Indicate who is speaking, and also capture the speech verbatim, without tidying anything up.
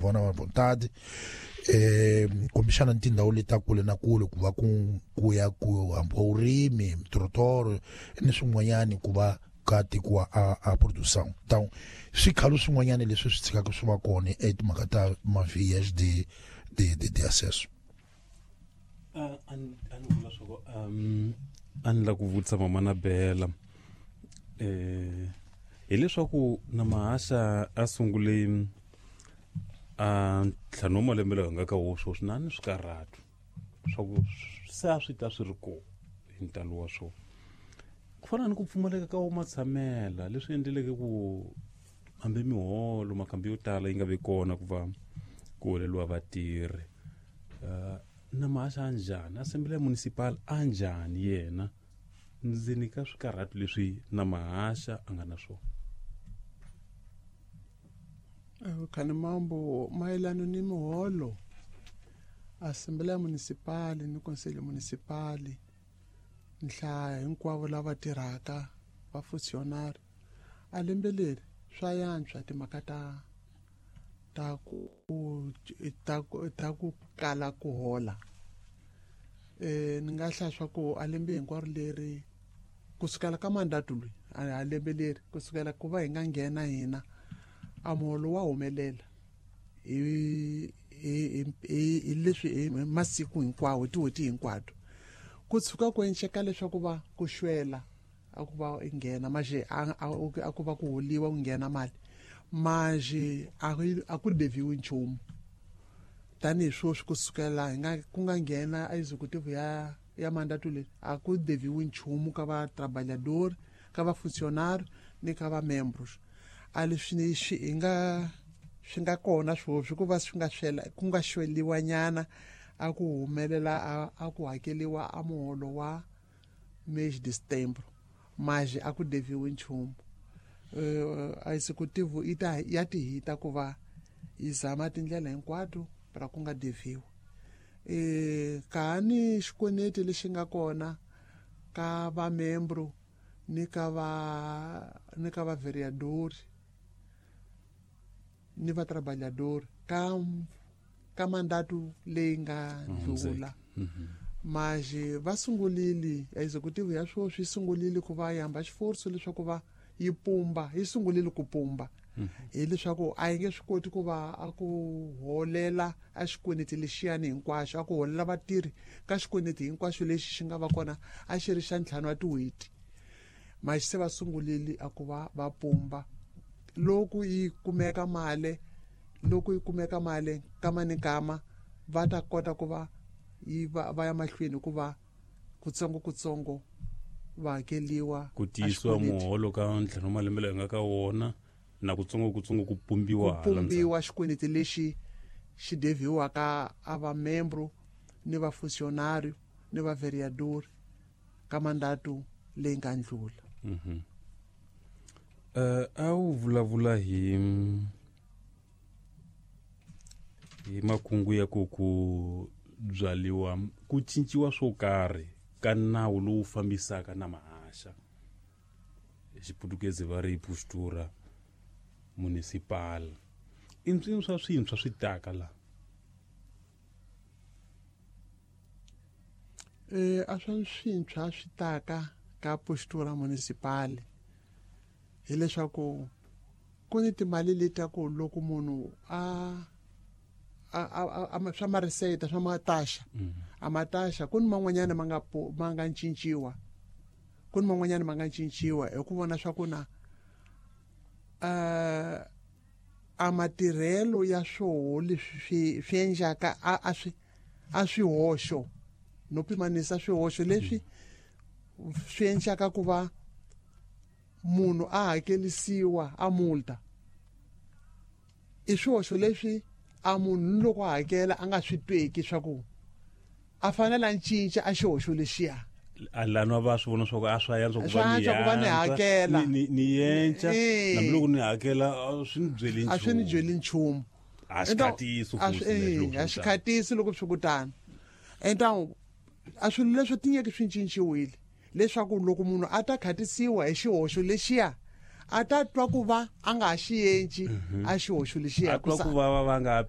Speaker 1: vona vontade eh kumbexana tindhawu leti ta kule na kule ku va ku ku ya ku hambiwa urimi mitorotoro ni swin'wanyani ku va ka tekiwa a a produção. Então swikhalo swin'wanyana leswi swi tshikaka swi va kona etimhaka ta ma-vias de de de, de acesso.
Speaker 2: A a ni vula swa ku um a ni la ku vutisa mama na Bela eh hileswaku na Mahasha a sungule a ntlhanu wa malembe lawa hi nga ka wo sweswi na ni swikarhatu swa ku se a swi ta swi ri kona hi ntalo wa swona ku fana ni ku pfumaleka ka wo matshamela leswi endleleke ku hambi miholo makhambi yo tala yi nga vi kona ku va ku holeliwa vatirhi. Uh, na Mahasha a njhani assembly municipal a njhani yena ndzeni ka swikarhatu leswi na Mahasha a nga na swona?
Speaker 3: Khani mambo mayelana ni miholo assembly municipal ni conselho municipal nhlaya hinkwavo lava tirhaka va funcionário a lembe leri swa yantswa timhaka ta ta ku ta ku ta ku kala ku hola. Eh ni nga hlaya swa ku a lembe hinkwaro leri kusukela ka mandato loyi a lembe leri kusukela ku va hi nga nghena hina a muholo wa humelela hi hi hi leswi hi masiku hinkwawo tin'hweti hinkwato ku tshuka ku enceka leswaku va ku xwela a ku va nghena manje a ku va ku holiwa ku nghena mali manje a ku deviwi nchumu tanihi sweswi kusukela hi nga ku nga nghena executive ya ya mandato leyi a ku deviwi nchumu ka va trabalhador ka va funcionário ni ka va membros. A leswi swi hi nga swi nga kona sweswi ku va swi nga swela ku nga xweliwa nyana a ku humelela a ku hakeliwa a muholo wa mês de setembro manje a ku deviwi nchumu. Uh, executive yi ta ya tihita ku va yi zama tindlela hinkwato ra ku nga deviwi. Eh kani xikweneti lexi nga kona ka va membro ni ka va ni ka va vereador ni va trabalhador ka ka mandato leyi nga ndlula manje va sungulile executive ya sweswi yi sungulile ku va yamba xiforso leswaku va yi pumba yi sungulile ku pumba hileswaku a yi nge swi koti ku va a ku holela a xikweneti lexiyani hinkwaxo a ku holela vatirhi ka xikweneti hinkwaxo lexi xi nga va kona a xi ri xa ntlhanu wa tin'hweti manje se va sungulile a ku va va pumba loko yi kumeka mali loko yi kumeka mali kama ni kama va ta kota ku va yi va va ya mahlweni ku va kutsongo kutsongo va hakeliwa
Speaker 2: ku tiyisiwa muholo ka ntlhanu wa malembe lawa nga ka wona na kutsongo kutsongo ku pumbiwa
Speaker 3: ku pumbiwa xikweneti lexi xi deviwaka a va membro ni va funcionário ni va vereador ka mandato leyi nga ndlula.
Speaker 2: Mhm. Uh, a wu vulavula hi hi makungu ya ku ku byaliwa ku cinciwa swo karhi ka nawu lowu fambisaka na Mahasha xiputukezi va ri postura municipal i mpsini swa swintshwa swi taka la
Speaker 3: eh a swa swintshwa swi taka ka postura municipal hileswaku ku ni timali leti ta ku loko munhu a a a swa mariseta swa mataxa a mataxa ku ni man'wanyana ma nga ma nga cinciwa ku ni man'wanyana ma nga cinciwa hi ku vona swa ku na uh, a matirhelo ya swoho leswi swi swi endlaka a a swi a swihoxo no pimanisa swihoxo leswi swi endlaka ku va munhu a hakelisiwa a multa i swihoxo leswi a munhu loko a hakela a nga swi tweki swa ku a fanele a cinca a xihoxo lexiya
Speaker 2: a lana va swi vona swa ku a swa yantswa ku
Speaker 3: va ni ku va ni hakela
Speaker 2: ni ni yenca hambi loko ni hakela swi ni byeli
Speaker 3: nchumu a swi ni byeli nchumu
Speaker 2: a swi khatisi
Speaker 3: a swi khatisi loko swi kutana. Então a swilo leswi tinyeke swi cinciwile leswaku loko munhu a ta khatisiwa hi xihoxo lexiya a ta twa ku va a nga ha xi yenci a xihoxo lexiya
Speaker 2: a twa ku va va nga